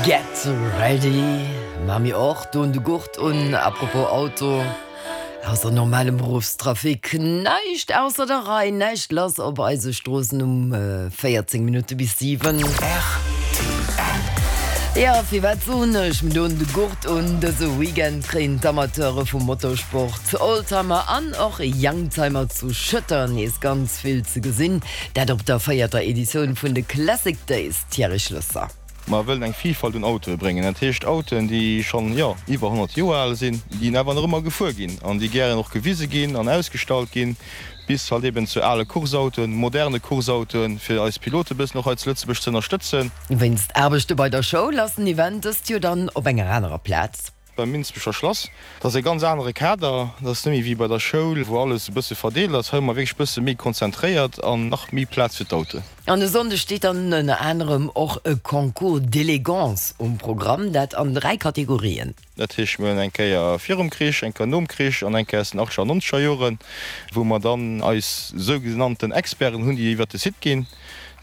Get ready! Maa mir och doen de Gurt un. Apropos Auto, ausser normalem Beruffstrafic näischt ausser der Rei, näischt lass op eise Stroossen um 14 Minutte bis 7. Jo, firwat soen ech, mir doen de Gurt un? Dëse Weekend kréien d'Amateure vum Motorsport, Oldtimer an och Youngtimer zu Schëtter nees ganz vill ze gesinn. Dat op der véierter Editioun vun de Classic Days. Thierry Schlesser. Mer wëllen eng Vilfalt un Autoe bréngen, dat heescht Autoen, déi schonn, jo, iwwer 100 Joer al sinn, déi awer nach ëmmer gefuer ginn an déi gären och gewise ginn an ausgestallt ginn, bis halt eben zu ale Course-Autoen, moderne Course-Autoen, fir eis Pilote e bëssen och hei zu Lëtzebuerg ze ënnerstëtzen. Wéinst Aarbechte bei der Schoul ass den Event dëst Joer dann op enger anerer Plaz. Beim Minsbecher Schlass. Dat ass e ganz anere Kader. Dat ass net méi wéi bei der Schoul, wou alles e bësse verdeelt ass. Hei hu mer wierklech e bësse méi konzentréiert an nach méi Plaz fir d'Autoen. An e Sonndeg steet dann ënner anerem och e Concours d'élégance um Programm, dat an 3 Kategorien. Dat heescht, mir hunn eng Kéier virum Krich, eng Kéier nom Krich an eng Kéier aus den achtzeger an nonzeger Joren, wou mer dann eis sougenannten Experten hunn, déi iwwert de Site ginn,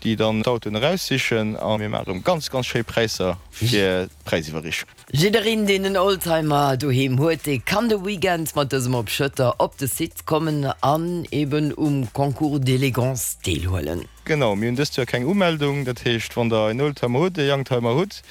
déi dann d'Autoen eraussichen. A mir maache rëm ganz, ganz schéi Präisser fir d'Präisiwwerreechung. Jiddereen deen en Oldtimer doheem huet, dee kann de Weekend mat dësem op Schëtter op de Site kommen an eben um Concours d'élégance deelhuelen. Genau, mir hunn dëst Joer keng Umeldung, dat heescht wann der en Oldtimer hutt, e Youngtimer hutt,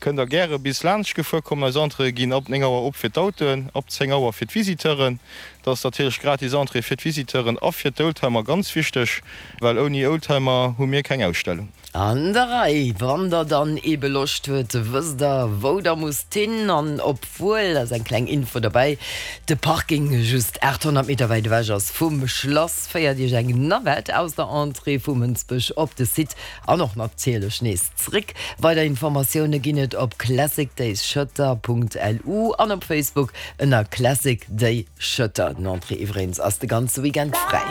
kënnt der gäre bis laanscht gefuer kommen. Eis Entréeë ginn ab 9 Auer op fir d'Autoen, ab 10 Auer fir d'Visiteuren. Dat ass natierlech gratis Entrée fir d'Visiteuren a fir d'Oldtimer ganz wichteg, well ouni Oldtimer hu mir keng Ausstellung. An der Rei, wann der dann ebe Loscht huet, wësst der wou der musst hin. An obwuel, ass eng kleng Info derbäi, de Parking just 800 Meter wäit ewech ass vum Schlass, féiert iech eng Navette aus der Entrée vu Mënsbech op de Site an och natierlech nees zréck. Weider Informatioune ginn et op classicdaysschëtter.lu an op Facebook ënner Classic Day Schëtter. Den Entrée iwwregens ass de ganze Weekend fräi.